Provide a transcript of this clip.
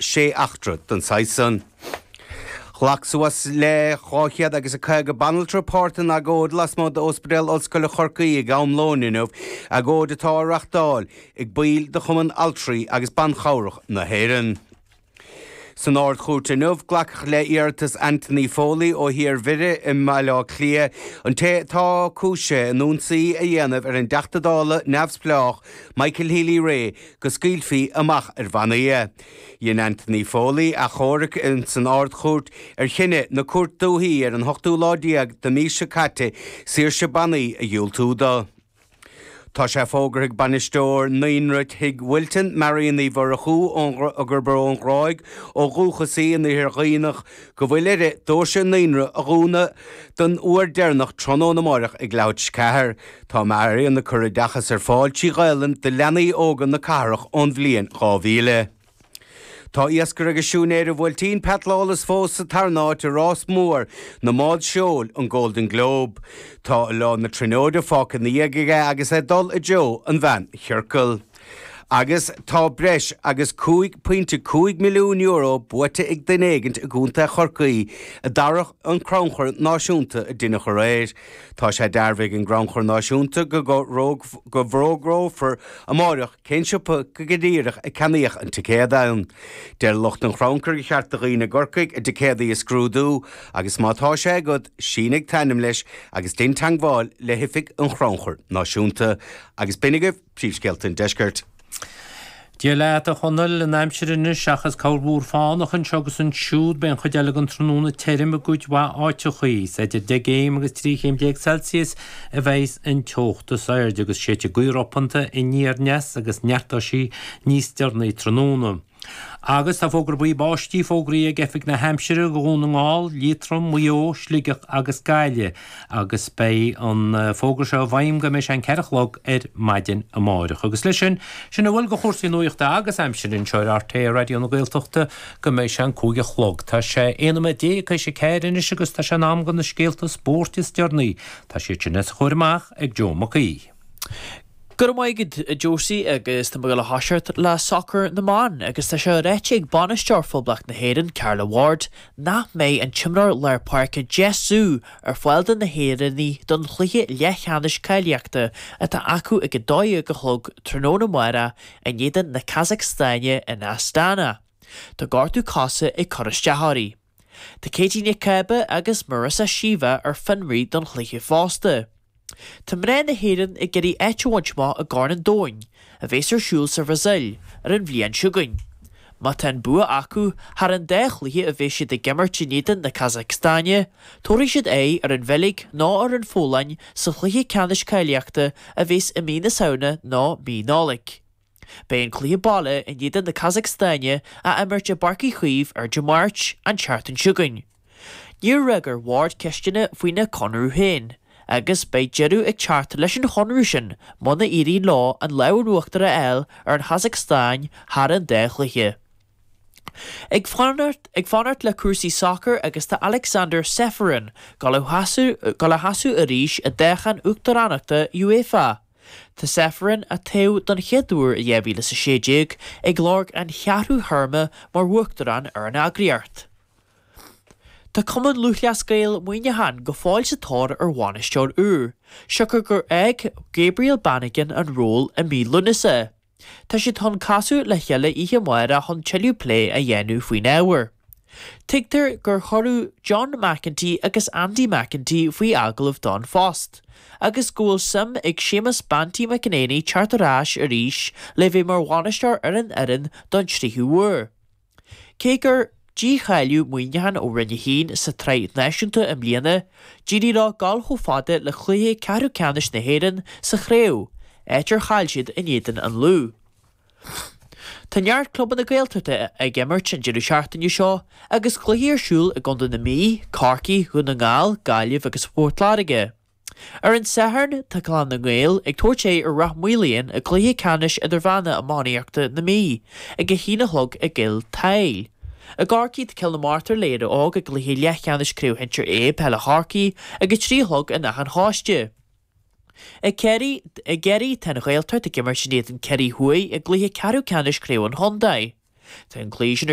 6 eachtra den saghas san. Ghlac suas le 200 agus 50 banaltra páirt in agóid lasmuigh d'Ospidéal Ollscoile Chorcaí ag am lóin inniu, agóid atá á reachtáil ag baill de Chumann Altraí agus Ban Chabhrach na hÉireann. San Ard-Chúirt inniu, glacadh le iarratas Anthony Foley ó Thír Mhire i mBaile Átha Cliath, an té atá cúisithe in ionsaí a dhéanamh ar an dTeachta Dála neamhspleách Michael Healy-Rae, go scaoilfí amach ar bhannaí é. Dhein Anthony Foley achomharc san Ard-Chúirt ar chinneadh na Cúirte Dúichí ar an hochtú lá déag de mhí seo caite saoirse bannaí a dhiúltú dó. Tá sé fógartha ag bainisteoir Naíonra Tigh Wilton, Marion Uí Mhurchú, gurb ón Ghráig ó dhúchas í in Iarthar Dhuibhneach, go bhfuil uirthi doirse an naíonra a dhúnadh don uair deireanach tráthnóna amáireach ag leathuair tar éis 4. Tá Marion ag cur oideachas ar fáil trí Ghaelainn do leanaí óga na cathrach ón bhliain 2000. Tá iascaire agus siúinéir an Bhuailtín, Pat Lawless fós sa tarna háit i rás mór na mbád seoil, an Golden Globe. Tá Oileán na Tríonóide fágtha ina dhiaidh aige agus é ag dul i dtreo an mheánchiorcail. Agus tá breis agus €5.5 milliún buaite ag duine éigint i gContae Chorcaí i dtarrac an Crannchur Náisiúnta a deineadh aréir. Tá sé dearbhaithe ag an gCrannchur Náisiúnta go bhfógrófar amáireach Cén siopa go díreach a ceannaíodh an ticéad ann? Deir lucht an chrannchuir gur cheart do dhaoine i gCorcaigh a dticéadaí a scrúdú agus má tá sé agat, sínigh t'ainm leis agus dein teagmháil le hoifig an Chrannchuir Náisiúnta. Agus b'in agaibh príomhscéalta an deiscirt. Dia leat, a Chonaill, an aimsir anois, seachas corrmhúr fánach anseo agus ansiúd, beidh an chuid eile den tráthnóna tirim i gcuid mhaith áiteachaí. Is idir 10 gcéim agus 13 chéim Celsius a bheidh an teocht is airde agus séidfidh gaoth ropanta aniar aneas agus neartóidh sí níos deireanaí tráthnóna. Agus tá fógra buí báistí fógraithe ag Oifig na hAimsire do Dhún na nGall, Liatroim, Maigh Eo, Sligeach agus Gaillimh agus beidh an fógra seo i bhfeidhm go mbeidh sé an 4 a chlog ar maidin amáireach. Agus leis sin, sin a bhfuil de chúrsaí nuachta agus aimsire anseo ar RTÉ Raidió na Gaeltachta go mbeidh sé an 5 a chlog. Tá sé 11 nóiméad tar éis a 4 anois agus tá sé in am do na scéalta spóirt is deireanaí. Tá siad sin os a chomhair amach ag Joe Mac Aoidh. Go raibh maith agat, a Josie, agus tá muid ag dul a thoiseacht le sacar na mban agus tá sé ráite ag bainisteoir Phoblacht na hÉireann, Carla Ward, nach mbeidh an t-imreoir lár páirce Jess Ziu ar fáil do na hÉireannaigh don chluiche leathcheannais cáilíochta atá acu ag 12 a chlog tráthnóna amárach in éadan na Casacstáine in Astana. Tá gortú cosa ag cur isteach uirthi. Tá Katie Nic Cába agus Marissa Sheva ar fionraí don chluiche fosta. Tá mná na hÉireann ag iarraidh áit a bhaint amach i gCorn an Domhain, a bheas ar siúl sa Bhrasaíl ar an bhliain seo chugainn. Má tá an bua acu thar an dá chluiche a bheas siad ag imirt in éadan na Casacstáine, tabharfaidh siad aghaidh ar an Bheilg nó ar an Pholainn sa chluiche ceannais cáilíochta a bheas i mí na Samhna nó mí Nollag. Beidh an cluiche baile in éadan na Casacstáine á imirt i bPáirc Uí Chaoimh ar Dé Máirt, an tseachtain seo chugainn. Níor fhreagair Ward ceisteanna faoina conradh féin, agus beidh deireadh ag teacht leis an chonradh sin muna éiríonn leo an lámh in uachtar a fháil ar an Chasacstáin thar an dá chluiche. Ag fanacht ag fanacht le cúrsaí sacair agus tá Aleksander Ceferin ag dul a sheasamh arís i dtoghchán uachtaránachta UEFA. Tá Ceferin, a toghadh don chéad uair i 2016, ag lorg an cheathrú théarma mar uachtarán ar an eagraíocht. Tá Cumann Lúthchleas Gael Muineachán go fóill sa tóir ar bhainisteoir úr, siocair gur fhág Gabriel Bannigan an ról i mí Lúnasa. Tá siad chun casadh le chéile oíche amárach chun tuilleadh plé a dhéanamh faoin ábhar. Tuigtear gur cuireadh John McEntee agus Andy McEntee faoi agallamh don phost, agus go bhfuil suim ag Séamus Banty McEnaney teacht ar ais arís le bheith mar bhainisteoir ar an fhoireann don tríú huair. Cé gur dícháilíodh Muineachán ó Roinn 1 sa tsraith náisiúnta i mbliana, d'éirigh leo dul chomh fada le cluiche ceathrú ceannais na hÉireann sa chraobh, áit ar chaill siad in éadan an Lú. Tá neart clubanna Gaeltachta ag imirt an deireadh seachtaine seo agus cluichí ar siúl i gContae na Mí, Corcaigh, Dhún na nGall, Gaillimh agus Port Láirge. Ar an Satharn, tá Clann na nGael ag tabhairt aghaidh ar Ráth Maoláin i gcluiche ceannais idirmheánach iománaíochta na Mí ag 1 a chlog i gCill tSáile. I gCorcaigh, tá Cill na Martra le Éire Óg i gcluiche leathcheannais Craobh Shinsir A Peile Chorcaí ag 3 a chlog in Áth an Chóiste. I gCiarraí, tá an Ghaeltacht ag imirt in éadan Ciarraí Thuaidh i gcluiche ceathrú ceannais Craobh an Chontae. Tá an cluiche sin ar.